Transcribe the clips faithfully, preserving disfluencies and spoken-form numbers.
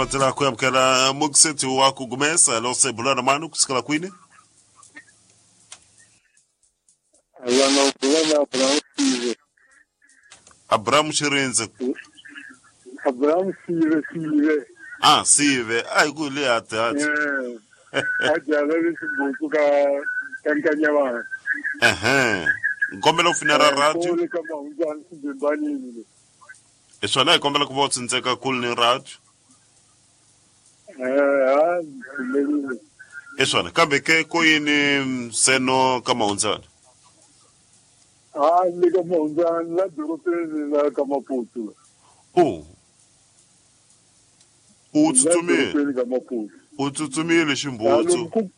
lavatela ku amukela mukiseti wa ku gumesa lo se bulana manu kusukela kwini. Alana bulana Abraham Sive. Abraham Shirinze. Abraham Sive Sive. Ah, Sive. Ai ku le ate ate. Eh. Ajala le sibuku ka kankanya ba. Ehe. Nkombela u finera radio. Ko ka maunjani simbani. E swona hi kombela ku va u tsindzeka kule ni radio. Eh, ah, e swona kambe ke ko yini seno ka mahundzana? Ah, le ka mahundzana la dorobeni la ka Maputo. Oh. U tsutsumile. Ka Maputo. U tsutsumile ximbutsu.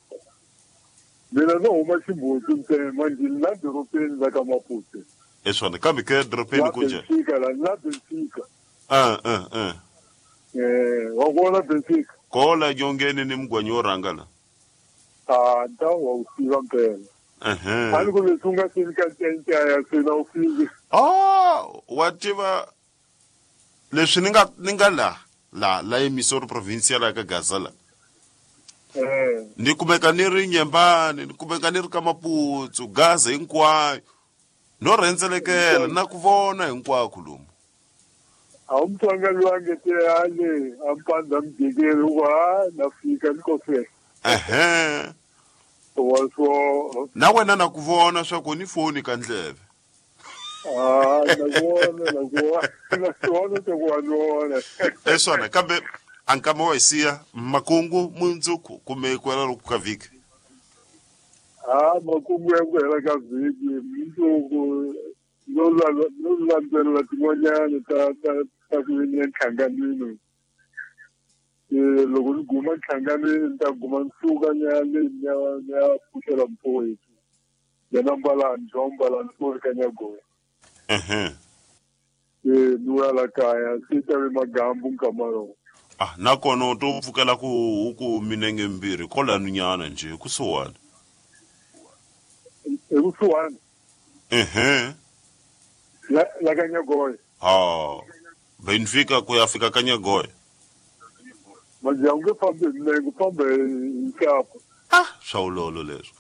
Mina no huma ximbutsu ntsena manje la dorobeni la ka Maputo. E swona kambe ke dorobeni ku njhani? Benfica la la Benfica. Ah ah ah. Eh, wa vona Benfica. Kola nyongeni ni mugwanyi wo rhanga la. Ah, nta wa u tiva mpela. Ehe. A ni ku leswi u nga seni ka ncence ya sena u fiki. Ah, wa tiva leswi ni nga ni nga la la la emisori provincial ya ka Gaza la. Eh. Ni kumeka ni ri Nyembani, ni kumeka ni ri ka Maputsu, Gaza hinkwayo. No rhendzelekela na ku vona hinkwako lomu. A wu mutsonga loyi a nge te ale a mpandza mujekeni u ku ha na fika ni ko fela. Ehe. Wa swo na wena na ku vona swa ku ni foni ka ndleve. Ah, na ku vona, na ku vona, na ku vona swa ku wa ni vona. E swona kambe a nkama wa hi siya makungu mundzuku kumbe ku hela loku ka vhiki. Ah, makungu ya ku hela ka vhiki mundzuku no la no landzelela tin'wanyana ta ta ta ku ni enhlanganweni. Eh, loko ni guma enhlanganweni ni ta guma ni suka ni ya le ni ya ni ya pfuxela mfowethu. Yena Mbalani, John Mbalani, ku ka Nyagoya. Ehe. Eh, ni vuya la kaya se ta ve magambu nkama lowu. Ah, nakona u to pfukela ku huku minenge mbirhi kwalano nyana nje kusuhani. Ekusuhani? Ehe. La la ka Nyagoya. Ha. Benfica ku ya fika ka Nyagoya. Manje a wu nge fambi hi milenge, u famba hi nxapo. Ah, swa ulolo leswi.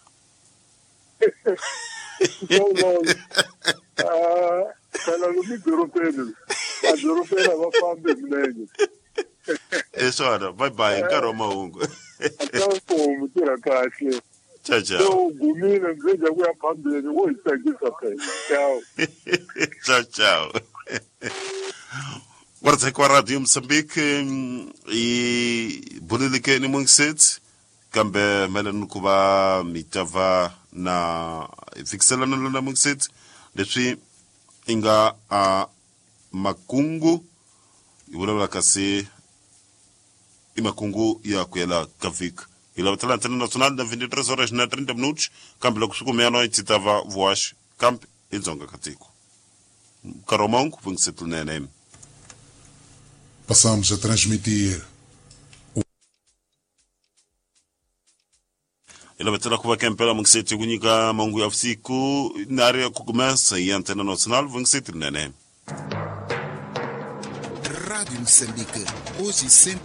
Swa ulolo. Ah, phela lomu edorobeni, edorobeni a va fambi hi milenge. E swona, bye bye, nkarhi wa mahungu. A mfumo tirha kahle. Ciao ciao. Se u gumile ndzi ku ya phambeni wo hi tsakisa phela. Ciao. Ciao ciao. Wardzek wa Radio Mozambique i buleleke ni mungiseti kambe mayelana ku va mi ta va na fikiselana na mungiseti leswi i nga a makungu i vulavula kasi i makungu ya ku yela ka vhiki. Hi lavatela Antena Nacional na vinte e três horas na trinta minutos kambe loko swi kumeyano yi ta va vuhaxi kambe i dzonga ka tiko. Nkarhi wa mahungu vungiseti lunene. Passamos a transmitir. Hi lavatela ku va kempela mungiseti ku nyika mahungu ya vusiku na ri ya ku kumesa hi Antena Nacional vungiseti lunene. Rádio Moçambique, hoje e sempre.